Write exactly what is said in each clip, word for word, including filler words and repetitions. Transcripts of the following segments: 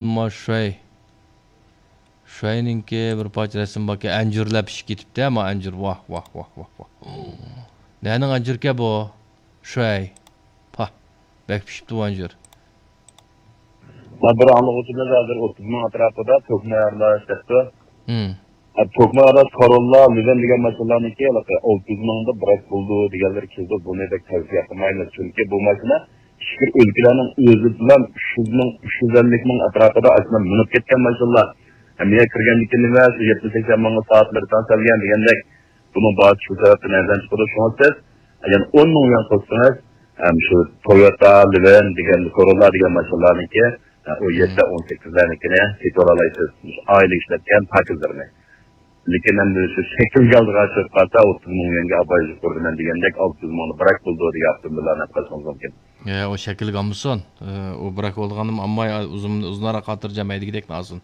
ما شۈەي. شۈەينىڭكى بىر پارچە رەسىم باركەن، ئەنجۈرلەر پىشىپ كېتىپتۇ، ما ئەنجۈر. ۋاھ، ۋاھ، ۋاھ، ۋاھ، ۋاھ. نەنىڭ ئەنجۈركەن بۇ؟ شۈەي. پاھ، بەك پىشىپتۇ بۇ ئەنجۈر. ما بىر ئاڭلىغۇچىمىز ھازىر ئوتتۇز مىڭ ئەتراپىدا تۆكمە ئارىلاش دەپتۇ. ھىم. ئە، تۆكمە ئارىلاش كاروللا، لىۋەن دېگەن ماشىنىلارنىڭكى ھېلىقى ئالتە يۈز مىڭدا بىراك بولىدۇ دېگەنلىرى كېلىدۇ. بۇنى بەك تەۋسىيە قىلمايمىز. چۈنكى بۇ ماشىنا ئىچكىرى ئۆلكىلەرنىڭ ئۆزى بىلەن ئۈچ يۈز مىڭ، ئۈچ يۈز ئەللىك مىڭ ئەتراپىدا ئاشۇنداق مېڭىپ كەتكەن ماشىنىلار. ھەم يەنە كىرگەندىن كېيىن نېمە، شۇ يەتمىش سەكسەن مىڭغا سائەتلىرى تەڭ سەلگەن دېگەندەك. بۇنىڭ باھاسى شۇ سەۋەبتىن ئەرزان چىقىدۇ. شۇڭا سىز، ئەگەر ئون مىڭ يۈەن قوشسىڭىز، ھەم شۇ تويوتا، لىۋەن دېگەن، كورولا دېگەن ماشىنىلارنىكى، ھە، ئون يەتتە، ئون سەككىزلەرنىكىنى سېتىۋالالايسىز. شۇ ئائىلە ئىشلەتكەن پاكىزلىرىنى. لېكىن ئەمدى شۇ شەكىلگە ئالدىغان چۈشۈپ قالسا، ئوتتۇز مىڭ يۈەنگە ئاپايىز يۇقىرىدا مەن دېگەندەك ئالتە يۈز مىڭنى بىراك بولىدۇ دېگەن ئاپتوموبىللارنى ئېلىپ قېلىشىڭىز مۇمكىن. ئە، ئۇ شەكىلگە ئالمىسۇن. ئە، ئۇ بىراك بولىدىغاننىمۇ ئالماي، ئۇزۇن، ئۇزۇنراق خاتىرجەم ھەيدىگۈدەكنى ئالسۇن.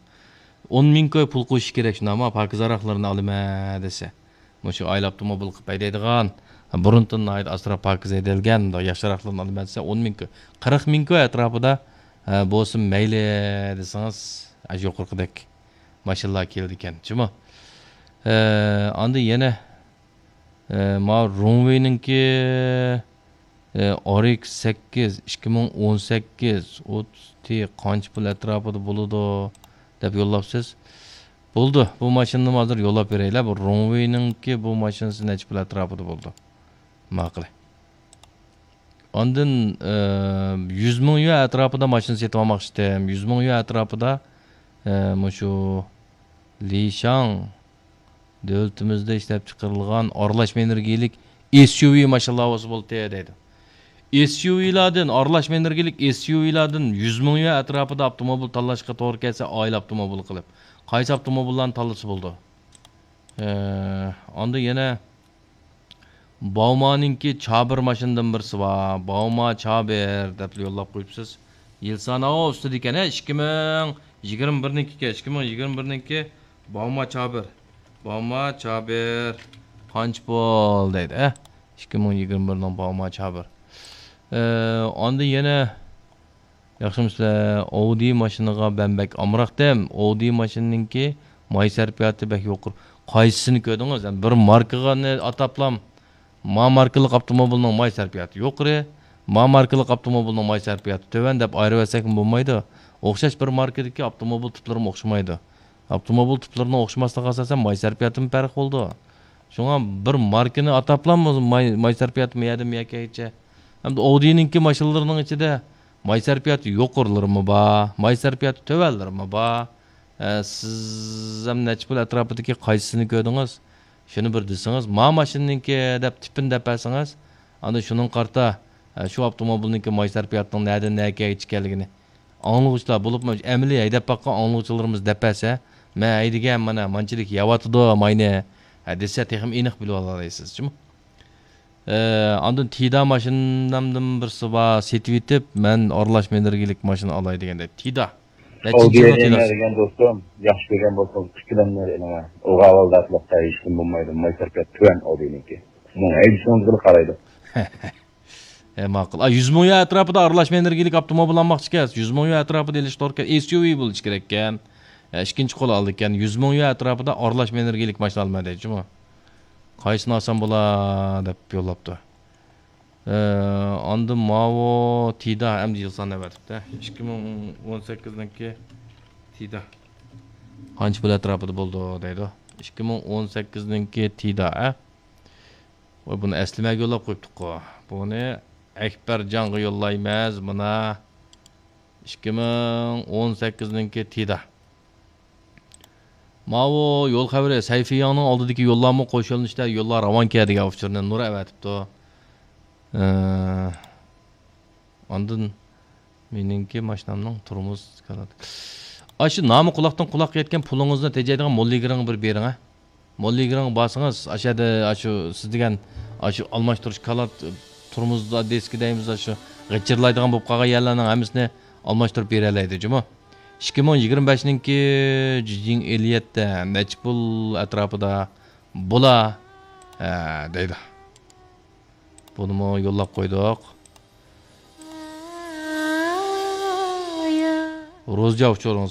ئون مىڭ كوي پۇل قوشۇش كېرەك، شۇنداقمۇ؟ پاكىز ھاراقلىرىنى ئالىمەن دېسە. مۇشۇ ئائىلە ئاپتوموبىل قىلىپ ھەيدەيدىغان، بۇرۇنتىن ناھايىتى ئاسراپ پاكىز ھەيدەلگەن، مۇنداق ياخشىراقلىرىنى ئالىمەن دېسە، ئون مىڭ كوي، قىرىق مىڭ كوي ئەتراپىدا، ئە، بولسا مەيلى دېسىڭىز، ئاشۇ يۇقىرىقىدەك ماشىنىلار كېلىدىكەن، جۇمۇ. ئە، ئاندىن يەنە، ئە، ما رونۋېينىڭكى، ئە، ئار ئېكس سەككىز، ئىككى مىڭ ئون سەككىز، ئوتتۇز تى قانچە پۇل ئەتراپىدا بولىدۇ دەپ يوللاپسىز. بولىدۇ، بۇ ماشىنىنىمۇ ھازىر يوللاپ بېرەيلى. بۇ رونۋېينىڭكى بۇ ماشىنىسى نەچچە پۇل ئەتراپىدا بولىدۇ؟ ماقۇل. ئاندىن، ئە، يۈز مىڭ يۈەن ئەتراپىدا ماشىنا سېتىپ ئالماقچى ئىدىم. يۈز مىڭ يۈەن ئەتراپىدا، ئە، مۇشۇ لىشاڭ دۆلىتىمىزدە ئىشلەپچىقىرىلغان ئارىلاشما ئېنېرگىيەلىك ئېس يۇ ۋى ماشىنىلار بولسا بولدى دەيدۇ. ئېس يۇ ۋىلاردىن، ئارىلاشما ئېنېرگىيەلىك ئېس يۇ ۋىلاردىن يۈز مىڭ يۈەن ئەتراپىدا ئاپتوموبىل تاللاشقا توغرا كەلسە، ئائىلە ئاپتوموبىلى قىلىپ، قايسى ئاپتوموبىللارنى تاللىسا بولىدۇ؟ ئە، ئاندىن يەنە باۋمانىڭكى چابىر ماشىنىدىن بىرسى بار. باۋما چابىر دەپلا يوللاپ قويۇپسىز. يىلسان ئاۋۇ ئۈستىدىكەن، ھە، ئىككى مىڭ يىگىرمە بىرنىڭكى، ئىككى مىڭ يىگىرمە بىرنىڭكى باۋما چابىر. باۋما چابىر قانچە پۇل دەيدۇ، ھە؟ ئىككى مىڭ يىگىرمە بىرنىڭ باۋما چابىر. ئە، ئاندىن يەنە ياخشىمۇسىلەر؟ ئاۋدى ماشىنىغا مەن بەك ئامراقتىم. ئاۋدى ماشىنىنىڭكى ماي سەرپىياتى بەك يۇقىرى. قايسىسىنى كۆردىڭىز؟ يەنى بىر ماركىغا ئاتاپلام، ما ماركىلىق ئاپتوموبىلنىڭ ماي سەرپىياتى يۇقىرى، ما ماركىلىق ئاپتوموبىلنىڭ ماي سەرپىياتى تۆۋەن دەپ ئايرىۋەتسەكمۇ بولمايدۇ. ئوخشاش بىر ماركىدىكى ئاپتوموبىل تىپلىرىمۇ ئوخشىمايدۇ. ئاپتوموبىل تىپلىرىنىڭ ئوخشىماسلىقىغا ئاساسەن ماي سەرپىياتىمۇ پەرق بولىدۇ. شۇڭا بىر ماركىنى ئاتاپلام ماي، ماي سەرپىياتى مۇ يەردىن مۇ يەرگىچە. ھەمدە ئاۋدىنىڭكى ماشىنىلىرىنىڭ ئىچىدە ماي سەرپىياتى يۇقىرىلىرىمۇ بار، ماي سەرپىياتى تۆۋەنلىرىمۇ بار. ئە، سىز ھەم نەچچە پۇل ئەتراپىدىكى قايسىسىنى كۆردىڭىز؟ شۇنى بىر دېسىڭىز، ما ماشىنىنىڭكى دەپ تىپىنى دەپ بەرسىڭىز، ئاندىن شۇنىڭغا قارىتا، ئە، شۇ ئاپتوموبىلنىڭكى ماي سەرپىياتىنىڭ نەدىن نەگىچە ئىكەنلىكىنى ئاڭلىغۇچىلار، بولۇپمۇ ئەمەلىي ھەيدەپ باققان ئاڭلىغۇچىلىرىمىز دەپ بەرسە، مەن ھەيدىگەن، مانا مانچىلىك يەۋاتىدۇ ماينى، ھە، دېسە تېخىمۇ ئېنىق بىلىۋالالايسىز جۇمۇ. ئە، ئاندىن تىدا ماشىنامدىن بىرسى بار، سېتىۋېتىپ، مەن ئارىلاشما ئېنېرگىيەلىك ماشىنا ئالاي دېگەندەك. تىدا. نەچچىنچى يىلغا تىدا؟ دېگەن دوستۇم، ياخشى كۆرگەن بولسىڭىز، ئىككىلەنمەي ئېلىڭ. ئوغا ئاۋالدا ئەتلىقتا ھېچكىم بولمايدۇ، ماي سەرپىيات تۆۋەن ئاۋدىنىڭكى. بۇنىڭ ھەيدىشىڭىزگىلا قارايدۇ. ئە، ماقۇل. ئا، يۈز مىڭ يۈەن ئەتراپىدا ئارىلاشما ئېنېرگىيەلىك ئاپتوموبىل ئالماقچىكەنسىز. يۈز مىڭ يۈەن ئەتراپىدا ئېلىش توركەن، ئېس يۇ ۋى بولۇشى كېرەككەن. ئە، ئىككىنچى قول ئالىدىكەن. يۈز مىڭ يۈەن ئەتراپىدا ئارىلاشما ئېنېرگىيەلىك ماشىنا ئالىمەن دەيدۇ جۇمۇ. قايسىنى ئالسام بولا دەپ يوللاپتۇ. ئە، ئاندىن ماۋۇ تىدا ئەمدى يىلسان ئەۋەتىپتۇ. ئىككى مىڭ ئون سەككىزنىڭكى تىدا. قانچە پۇل ئەتراپىدا بولىدۇ دەيدۇ. ئىككى مىڭ ئون سەككىزنىڭكى تىدا، ئە؟ ۋاي، بۇنى ئەسلىمەگە يوللاپ قويۇپتۇققۇ. بۇنى ئەكبەرجانغا يوللايمىز، مانا. ئىككى مىڭ ئون سەككىزنىڭكى تىدا. ماۋۇ يول خەۋىرى، سەيفىياڭنىڭ ئالدىدىكى يوللارمۇ قوش يۆنىلىشتە يوللار راۋانكەن دېگەن ئۇچۇرنى نۇر ئەۋەتىپتۇ. ئە، ئاندىن مېنىڭكى ماشىنامنىڭ تورمۇز كالات. ئاشۇ نامى قۇلاقتىن قۇلاققا يەتكەن پۇلىڭىزنى تېجەيدىغان موللىگىرىڭ بىر بېرىڭ، ھە. موللىگىرىڭغا بارسىڭىز، ئاشۇ يەردە، ئاشۇ سىز دېگەن، ئاشۇ ئالماشتۇرۇش كالات، تورمۇز دىسكى دەيمىز، ئاشۇ غىچىرلايدىغان بولۇپ قالغان يەرلەرنىڭ ھەممىسىنى ئالماشتۇرۇپ بېرەلەيدۇ جۇمۇ. ئىككى مىڭ يىگىرمە بەشنىڭكى جىجىڭ ئېلىيەتتە نەچچە پۇل ئەتراپىدا بولا، ھە، دەيدۇ. بۇنىمۇ يوللاپ قويدۇق. روزا ئۇچۇرىڭىز